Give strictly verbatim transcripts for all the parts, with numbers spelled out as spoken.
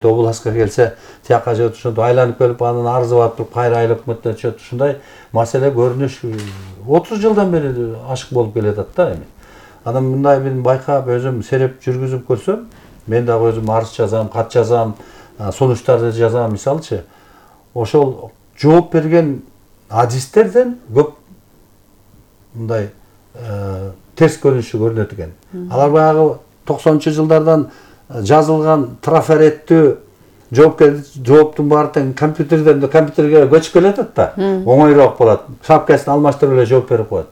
областка келсе тияка же ошондо айланып келип анын арызы барып туруп кайра айыл өкмөтүнө түшөт. Ушундай маселе көрүнүш отуз жылдан бери ашык болуп келатат да эми. Анан мындай мен байкап өзүм сереп жүргүзүп көрсөм, мен дагы өзүм арыз жазам, кат жазам, сунуштарды жазам мисалчы. Ошол жооп берген адистерден көп мындай терс көрүнүшү көрүнөт экен. Алар баягы токсонунчу жылдардан жазылган трафареттүү жооптун баары тең компьютерден компьютерге көчүп келатат да, оңойрөөк болот. Шапкасын алмаштырып эле жооп берип коет.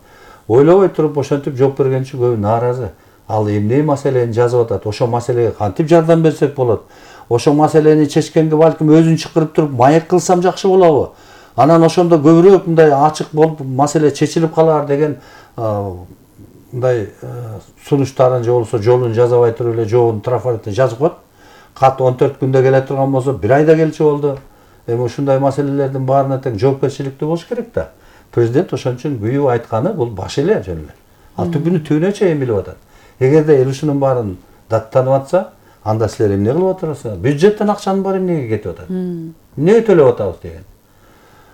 Ойлобой туруп ошентип жооп берген үчүн көбү нааразы. Ал эмне маселени жазып атат? Ошол маселеге кантип жардам берсек болот? Ошол маселени чечкенге балким өзүн чакырып туруп маек кылсам жакшы болобу? Анан ошондо көбүрөөк мындай ачык болуп маселе чечилип калар деген мындай сунуштарын же болбосо жолун жазабай туруп эле жообун трафаретте жазып коет. Кат он төрт күндө келе турган болсо бир айда келчү болду. Эми ушундай маселелердин баарына тең жоопкерчиликтүү болуш керек да. Президент ошон үчүн күйүү айтканы бул баш эле жөн эле. Ал түбүнү түбүнө чейин билип атат. Эгерде эл ушунун баарын даттанып атса, анда силер эмне кылып атасыздар? Бюджеттен акчанын баары эмнеге кетип атат? Эмнеге төлөп атабыз деген.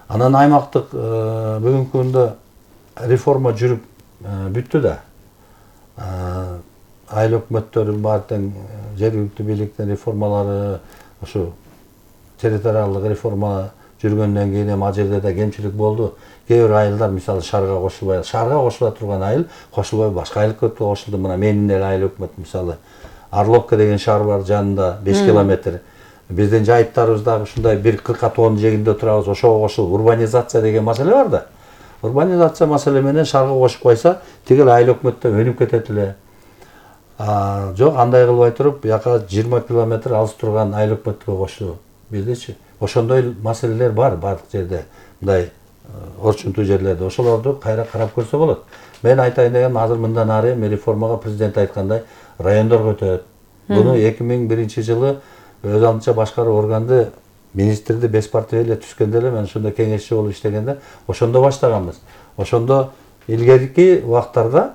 Анан аймактык бүгүнкү күндө реформа жүрүп бүттү да. Айыл өкмөттөрүн баары тең жергиликтүү бийликтин реформалары, ошо территориалдык реформа жүргөндөн кийин эми ал жерде да кемчилик болду. Кээ бир айылдар мисалы шаарга кошулбай, шаарга кошула турган айыл кошулбай башка айыл өкмөткө кошулду. Мына менин эле айыл өкмөт мисалы Орловка деген шаар бар жанында беш километр. Биздин жайыттарыбыз дагы ушундай бир кырка тоонун жегинде турабыз. Ошого кошулуп урбанизация деген маселе бар да. Урбанизация маселе менен шаарга кошуп койсо, тигил айыл өкмөттө өнүп кетет эле. А жок, андай кылбай туруп, бияка жыйырма километр алыс турган айыл өкмөткө кошту. Бизчи ошондой маселелер бар бардык жерде. Мындай орчунтуу жерлерде ошолорду кайра карап көрсө болот. Мен айтайын дегеним, азыр мындан ары эми реформага президент айткандай райондорго өтөт. Буну эки миң биринчи жылы өз алдынча башкаруу органды министрди беш партия эле түшкөндө эле мен ошондо кеңешчи болуп иштегенде ошондо баштаганбыз. Ошондо илгерки убактарда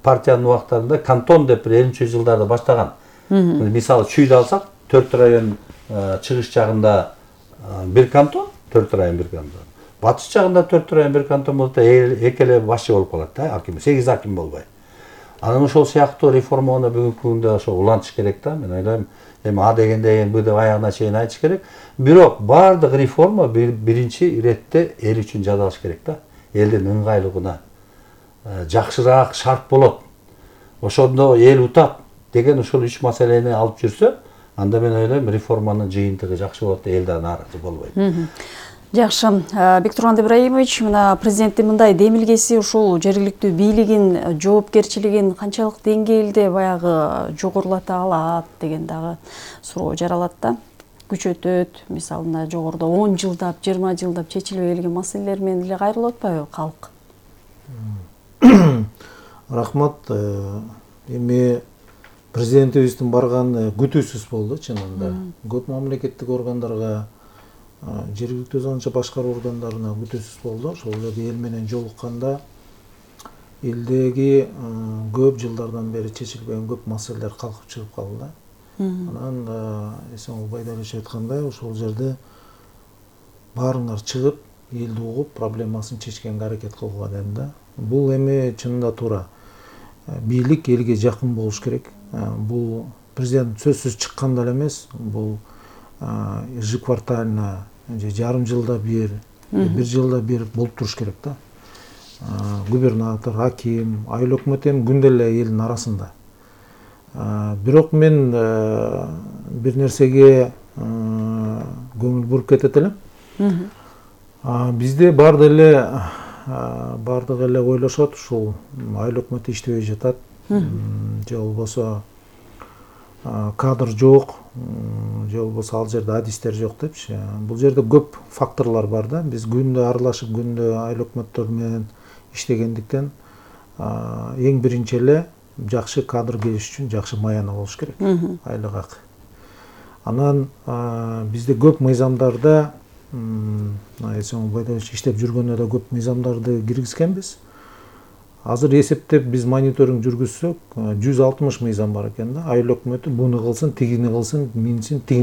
партиянын убактарында кантон деп элүүнчү жылдарда баштаган. Мисалы Чүйдү алсак, төрт район чыгыш жагында бир кантон, төрт район бир кантон. Батыш жагында төрт район бир кантон болсо эки эле башчы болуп калат да, аким, сегиз аким болбой. Анан ошол сыяктуу реформаны бүгүнкү күндө ошо улантыш керек да. Мен ойлойм, эми а дегенде бу деп аягына чейин айтыш керек. Бирок бардык реформа биринчи иретте эл үчүн жасалыш керек да. Элдин ыңгайлыгына жакшыраак шарт болот. Ошондо эл утат деген ушул үч маселени алып жүрсө, анда мен ойлойм реформанын жыйынтыгы жакшы болот, эл да нааразы болбойт. Жакшы. Бектурган Ибраимович, мына президенттин мындай демилгеси ушул жергиликтүү бийлигин жоопкерчилигин канчалык деңгээлде баягы жогорулата алат деген дагы суроо жаралат да. Күчөтөт, мисалында жогоруда он жылдап, жыйырма жылдап чечилбей келген маселелер менен эле кайрылып атпайбы калк? Рахмат. Эми президентибиздин барганы күтүүсүз болду чынында. Көп мамлекеттик органдарга, жергиликтүү өзүнчө башкаруу органдарына күтүүсүз болду. Ошол эле эл менен жолукканда элдеги көп жылдардан бери чечилбеген көп маселелер калкып чыгып калды да. Анан Эсенғұл Байдалович айткандай, ошол жерде баарыңар чыгып, элди угуп, проблемасын чечкенге аракет кылгыла дедим да. Бул эми чынында туура. Бийлик элге жакын болуш керек. Бул президент сөзсүз чыкканда эле эмес, бул ежеквартально, жарым жылда бир, бир жылда бир болуп туруш керек да. Губернатор, аким, айыл өкмөт эми күндө эле элдин арасында. Бирок мен бир нерсеге көңүл буруп кетет элем. Бизде баардык эле баардык эле ойлошот, ушул айыл өкмөтү иштебей жатат, же болбосо кадр жок, же болбосо ал жерде адистер жок депчи. Бул жерде көп факторлор бар да. Биз күндө аралашып, күндө айыл өкмөттөр менен иштегендиктен эң биринчи эле жакшы кадр келиш үчүн жакшы маяна болуш керек, айлык акы. Анан бизде көп мыйзамдарда, Эсенғұл Байдалович иштеп жүргөндө да көп мыйзамдарды киргизгенбиз. азыр эсептеп биз мониторинг жүргүзсөк жүз алтымыш мыйзам бар экен да. Айыл өкмөтү буну кылсын, тигини кылсын, минсин, тигин